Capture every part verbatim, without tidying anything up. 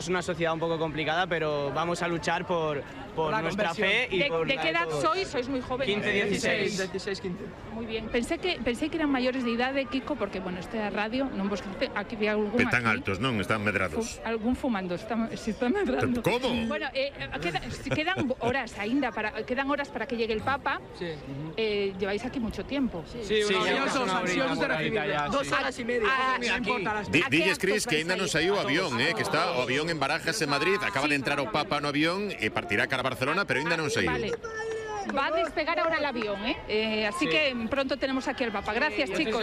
Es una sociedad un poco complicada, pero vamos a luchar por, por nuestra fe y ¿De, por ¿De la qué de edad todos. sois? Sois muy jóvenes. quince, dieciséis. dieciséis, quince. Muy bien. Pensé que pensé que eran maiores de idade, Kiko, porque, bueno, esta radio, non vos aquí vi algún Están aquí, altos, non? Están medrados. fu, algún fumando, está, se está medrando. Como? Bueno, eh, queda, quedan horas ainda, para, quedan horas para que llegue el Papa. Sí. Eh, lleváis aquí mucho tiempo. Sí, Sí, sí, una- ansiosos, una horita, ansiosos de una horita recibirle. ya, Dos sí. horas y media. Ah, no importa las Di, ¿A qué Dilles, actos Cris, que vais ainda a non ir? saiu o avión, eh, que está o avión en Barajas en Madrid, acaba de entrar o Papa no avión e partirá cara a Barcelona, pero ainda non saiu. Vale. Va a despegar ahora el avión, ¿eh? Eh, así Sí. que pronto tenemos aquí al Papa. Gracias, chicos.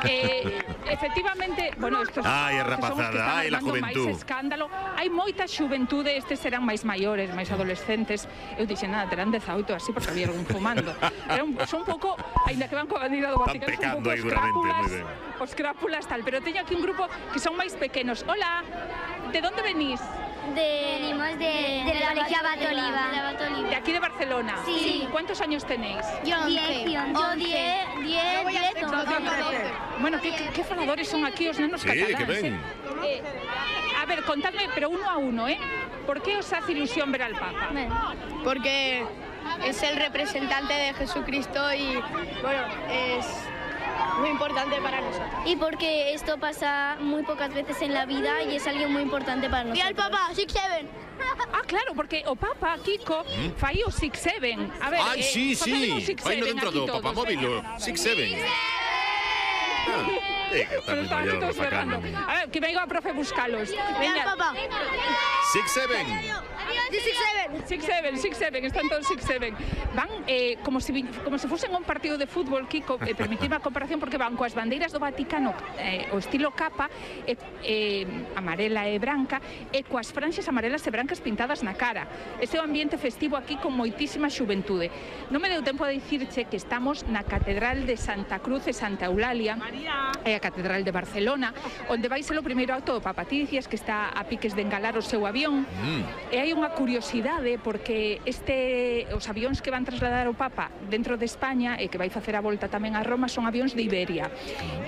Eh, efectivamente, bueno, estos Ai, a que son os que rapazada, están ai, la armando máis juventud. escándalo. Hai moita xuventude, estes serán máis maiores, máis adolescentes. Eu dixen, nada, terán dezaoito así, porque había algún fumando. Era un, son un pouco, ainda que van coa bandeira do Están Vaticano, son un pecando pouco aí duramente, escrápulas, moi ben. os crápulas tal, pero teño aquí un grupo que son máis pequenos. Hola, de onde venís? De, Venimos de, del Colegio Abat Oliva. De aquí de Barcelona. Sí. ¿Cuántos años tenéis? Yo diez, yo diez, diez, diez, once. Bueno, ¿qué, qué, qué faladores son aquí os nenos Sí, cataláns? que ven. eh? Eh, a ver, contadme, pero uno a uno, ¿eh? ¿Por qué os hace ilusión ver al Papa? Porque es el representante de Jesucristo y, bueno, es muy importante para nosotros. Y porque esto pasa muy pocas veces en la vida y es alguien muy importante para nosotros. ¡Y al Papa! ¡Six Seven! Ah, claro, porque o Papa, Kiko, fai o six seven. A ver, Ai, eh, sí, facedme un sí. six Vai no seven dentro aquí do todos, papamóvil, venga. o six seven. Ah, eh, que está Pero moi estaban maior, todos facano. berrando. A ver, que venga a profe buscalos. ¡Y al Venga. Papa! six seven. ¡Six Seven! six seven, six seven, están todos six seven. Van eh, como si como se fuesen un partido de fútbol, Kiko, eh, permitime a comparación porque van coas bandeiras do Vaticano, eh, o estilo capa, eh, eh, amarela e branca, e coas franxas amarelas e brancas pintadas na cara. Ese é o ambiente festivo aquí con moitísima xuventude. Non me deu tempo a dicirche que estamos na Catedral de Santa Cruz e Santa Eulalia, e a Catedral de Barcelona, onde vai ser o primeiro acto do Papa. Ti dicías que está a piques de engalar o seu avión, Mm. e hai unha curiosidade porque este os avións que van trasladar o Papa dentro de España e que vai facer a volta tamén a Roma son avións de Iberia.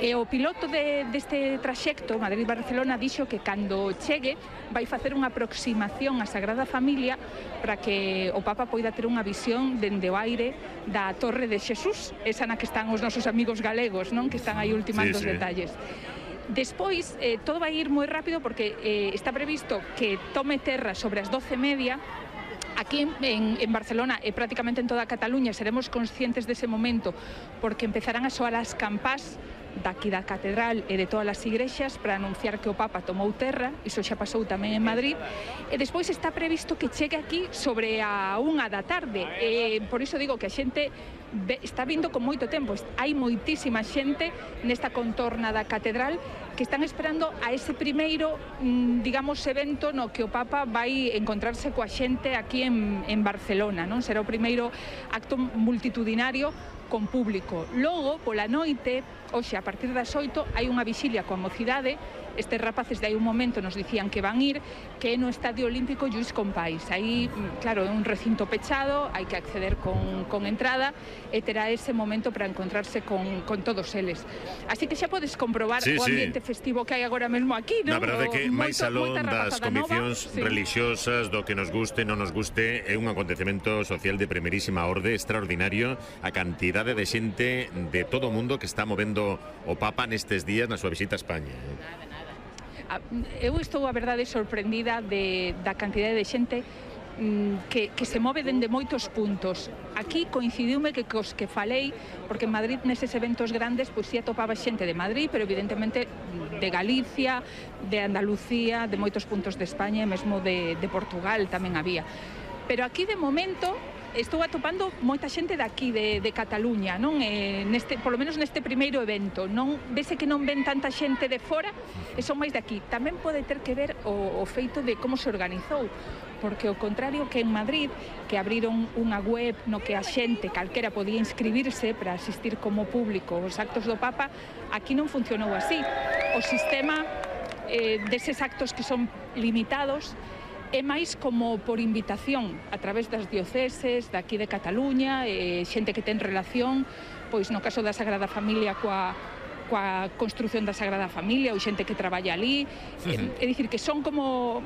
E o piloto de, deste traxecto Madrid-Barcelona dixo que cando chegue vai facer unha aproximación á Sagrada Familia para que o Papa poida ter unha visión dende o aire da Torre de Xesús, esa na que están os nosos amigos galegos, non? Que están aí ultimando Sí, os sí. detalles. Despois, eh, todo vai ir moi rápido porque eh, está previsto que tome terra sobre as doce e media. Aquí en, en Barcelona e prácticamente en toda Cataluña seremos conscientes dese momento porque empezarán a soar as campás daqui da catedral e de todas as igrexas para anunciar que o Papa tomou terra, iso xa pasou tamén en Madrid, e despois está previsto que chegue aquí sobre a unha da tarde, e por iso digo que a xente ve, está vindo con moito tempo, hai moitísima xente nesta contorna da catedral que están esperando a ese primeiro, digamos, evento no que o Papa vai encontrarse coa xente aquí en, en Barcelona, non? Será o primeiro acto multitudinario con público. Logo, pola noite, hoxe, a partir das oito, hai unha vixilia coa mocidade. Estes rapaces de aí un momento nos dicían que van ir, que é no Estadio Olímpico Lluís Companys. Aí, claro, é un recinto pechado, hai que acceder con, con entrada e terá ese momento para encontrarse con, con todos eles. Así que xa podes comprobar Sí, o sí. ambiente festivo que hai agora mesmo aquí, non? Na verdade é que O- máis moito- alón moita das rapazada nova, conviccións sí. religiosas, do que nos guste, non nos guste, é un acontecemento social de primerísima orde, extraordinario, a cantidade de xente de todo o mundo que está movendo o Papa nestes días na súa visita a España. Eu estou, a verdade, sorprendida de, da cantidade de xente mm, que, que se move dende moitos puntos. Aquí coincidiume que cos que falei, porque en Madrid neses eventos grandes pois si atopaba xente de Madrid, pero evidentemente de Galicia, de Andalucía, de moitos puntos de España e mesmo de, de Portugal tamén había. Pero aquí de momento estou atopando moita xente daqui de, de Cataluña, non? Eh, neste, polo menos neste primeiro evento, non vese que non ven tanta xente de fora e son máis daqui. Tamén pode ter que ver o, o feito de como se organizou, porque ao contrario que en Madrid, que abriron unha web no que a xente calquera podía inscribirse para asistir como público aos actos do Papa, aquí non funcionou así. O sistema eh, deses actos que son limitados é máis como por invitación a través das dioceses daqui de Cataluña, e xente que ten relación, pois no caso da Sagrada Familia coa coa construción da Sagrada Familia ou xente que traballa ali. Uh -huh. É dicir, que son como